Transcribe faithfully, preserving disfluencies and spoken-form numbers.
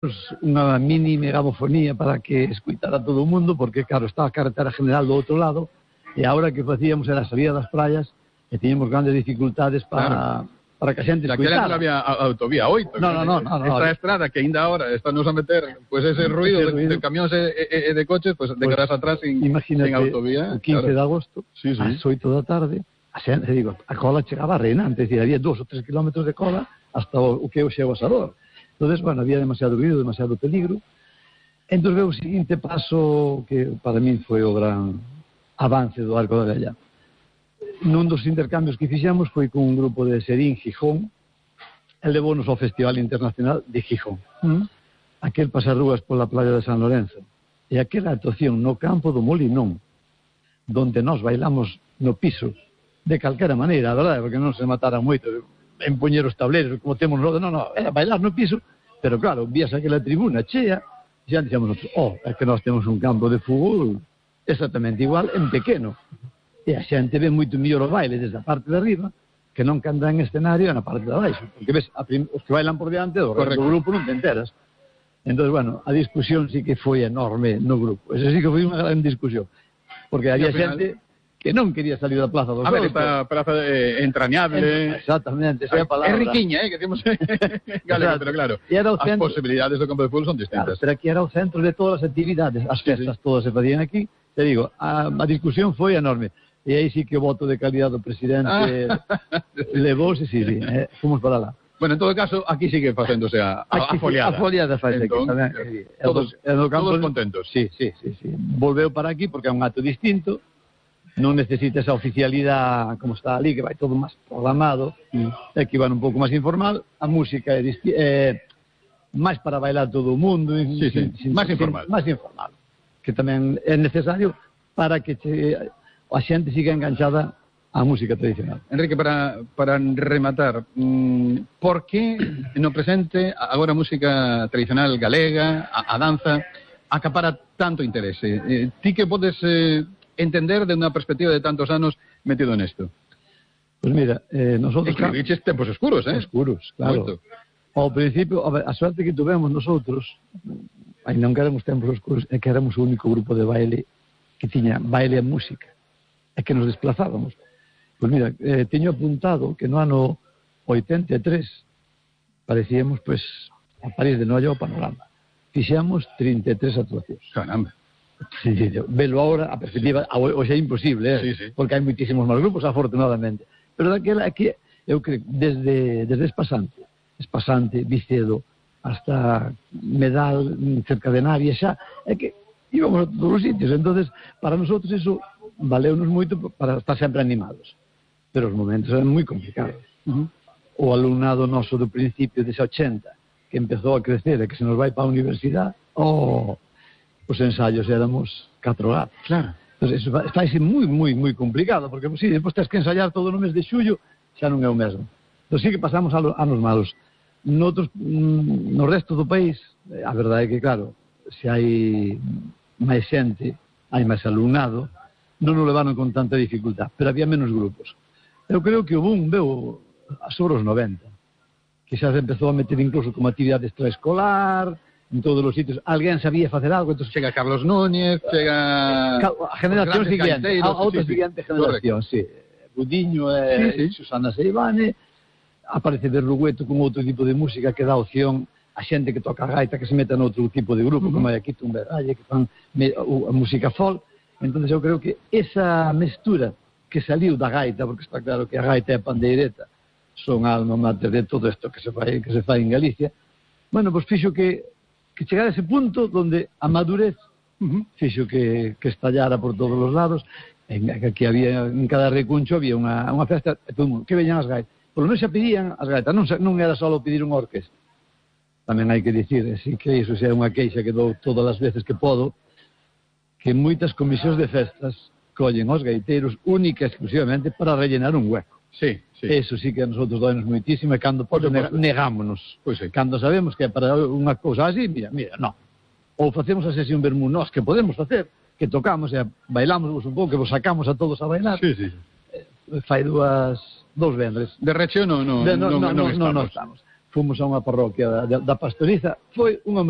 unha mini megafofonía para que escuitara todo o mundo, porque claro, estaba a carretera general do outro lado, e a hora que facíamos era a salida das praias e tiñamos grandes dificultades para, claro, para que a xente escuitara. Daquela non había autovía oito. No, no, no, no, no. Esta estrada que ainda ahora estamos a meter pues ese ruido, ese ruido. de, de camións e, e de coches, pues, de quedarás atrás sin, sin autovía. O quince claro. de agosto, sí, sí. ás oito da tarde, a xente, digo, a cola chegaba reinante, es decir, había dos ou tres kilómetros de cola hasta o, o que hoxe é o Asador. Entonces, bueno, había demasiado ruido, demasiado peligro. Entón, veo o seguinte paso que para mí foi o gran avance do Arco da Vella. Nun dos intercambios que fixemos foi con un grupo de Serín, Gijón, e levounos ao Festival Internacional de Gijón. Mm. Aquel pasarrúas pola playa de San Lorenzo. E aquela actuación no campo do Molinón, donde nós bailamos no piso, de calquera maneira, a verdade, porque non se matara moito en poñer os tableros, como temos no, no, no, era bailar no piso, pero claro, vías aquela tribuna chea, e xa dixemos nosotros, oh, é que nós temos un campo de fútbol exactamente igual, en pequeno, e a xente ve moito mellor o baile desde a parte de arriba, que non que anda en escenario na parte de abaixo, porque ves, a prim... os que bailan por diante do, do grupo non te enteras. Entón, bueno, a discusión sí que foi enorme no grupo, esa sí que foi unha gran discusión, porque había final... xente que non quería salir da Plaza dos Soutos. A ver, esta praza eh, entrañable... En, exactamente, esa é a palabra. É riquiña, eh, que temos galego, pero claro, as centro... posibilidades do campo de fútbol son distintas. Claro, pero aquí era o centro de todas as actividades, as festas sí, sí. todas se facían aquí, te digo, a, a discusión foi enorme, e aí sí que o voto de calidad do presidente ah. levouse, sí, sí, eh, fomos para lá. Bueno, en todo caso, aquí sigue facéndose a, a, a foliada. A foliada faz aquí, tamén. Todos, el, el campo, todos contentos. Sí, sí, sí, sí. Volveu para aquí porque é un acto distinto, non necesita esa oficialidade como está ali, que vai todo máis programado, mm. e que van un pouco máis informal, a música é, é máis para bailar todo o mundo, sí, sí. Sin, máis informal. Máis informal, que tamén é necesario para que che, a xente siga enganchada á música tradicional. Enrique, para, para rematar, mmm, por que no presente agora a música tradicional galega, a, a danza, acapara tanto interese? Eh, ti que podes... Eh, entender de unha perspectiva de tantos anos metido nesto? Pues mira, eh, nosotros... Escribiches tempos oscuros, eh? Oscuros, claro. Moito. Ao principio, a, ver, a suerte que tuvemos nosotros, aí non que éramos tempos oscuros, é que éramos o único grupo de baile que tiña baile e música, é que nos desplazábamos. Pues mira, eh, teño apuntado que no ano oitenta e tres parecíamos, pues, a París de Noia ao Panorama. Fixemos trinta e tres actuacións. Caramba. Sí, sí, velo ahora, a perspectiva, hoxe é imposible, eh? Sí, sí. Porque hai moitísimos máis grupos, afortunadamente. Pero daquela aquí, eu creo, desde, desde Espasante, Espasante, Vicedo, hasta Medal, cerca de Navia, xa, é que íbamos a todos os sitios. Entonces, para nosotros eso valeunos moito para estar sempre animados. Pero os momentos eran moi complicados. Uh-huh. O alumnado noso do principio dese ochenta, que empezou a crecer e que se nos vai para a universidade, oh... os ensaios éramos catro gatos. Claro. Entonces, eso está aí moi, moi, moi complicado, porque, si, sí, depois tens que ensaiar todo no mes de xullo, xa non é o mesmo. Entón, sí que pasamos anos malos. Noutros, no resto do país, a verdade é que, claro, se hai máis xente, hai máis alumnado, non o levaron con tanta dificultad, pero había menos grupos. Eu creo que o boom veu sobre os noventa, que xa se empezou a meter incluso como actividade extraescolar, en todos os sitios, alguén sabía facer algo, entón chega Carlos Núñez, chega a generación siguiente, a outra sí, siguiente generación, sí. Budiño e sí, sí. Susana Seivane, aparece Berrugueto con outro tipo de música que dá opción a xente que toca a gaita que se meta noutro tipo de grupo, uh-huh. como hai aquí Tumberralle, que fan me, a música folk. Entón eu creo que esa mestura que saliu da gaita, porque está claro que a gaita e a pandeireta son alma mater de todo isto que se fai, que se fai en Galicia, bueno, pois fixo que que chegar a ese punto donde a madurez uh-huh. fixo que, que estallara por todos os lados, en, que había, en cada recuncho había unha, unha festa, e todo mundo, que veñan as gaitas. Pero non se pedían as gaitas, non, non era só pedir unha orquesta. Tamén hai que dicir, así que iso xa é unha queixa que dou todas as veces que podo, que moitas comisións de festas collen os gaiteiros única e exclusivamente para rellenar un hueco. Sí, sí. Eso sí que a nosotros doenos moitísimo e cando pode negámonos. Pois sí. Cando sabemos que é para unha cousa así, mira, mira, non. Ou facemos a sesión vermú nós, que podemos facer, que tocamos e bailamos un pouco, que vos sacamos a todos a bailar. Sí, sí. Eh, fai dúas, dous vendres. De recheo non, non, de, no, non, no, non, no, estamos. non estamos. fomos a unha parroquia da, da Pastoriza, foi unha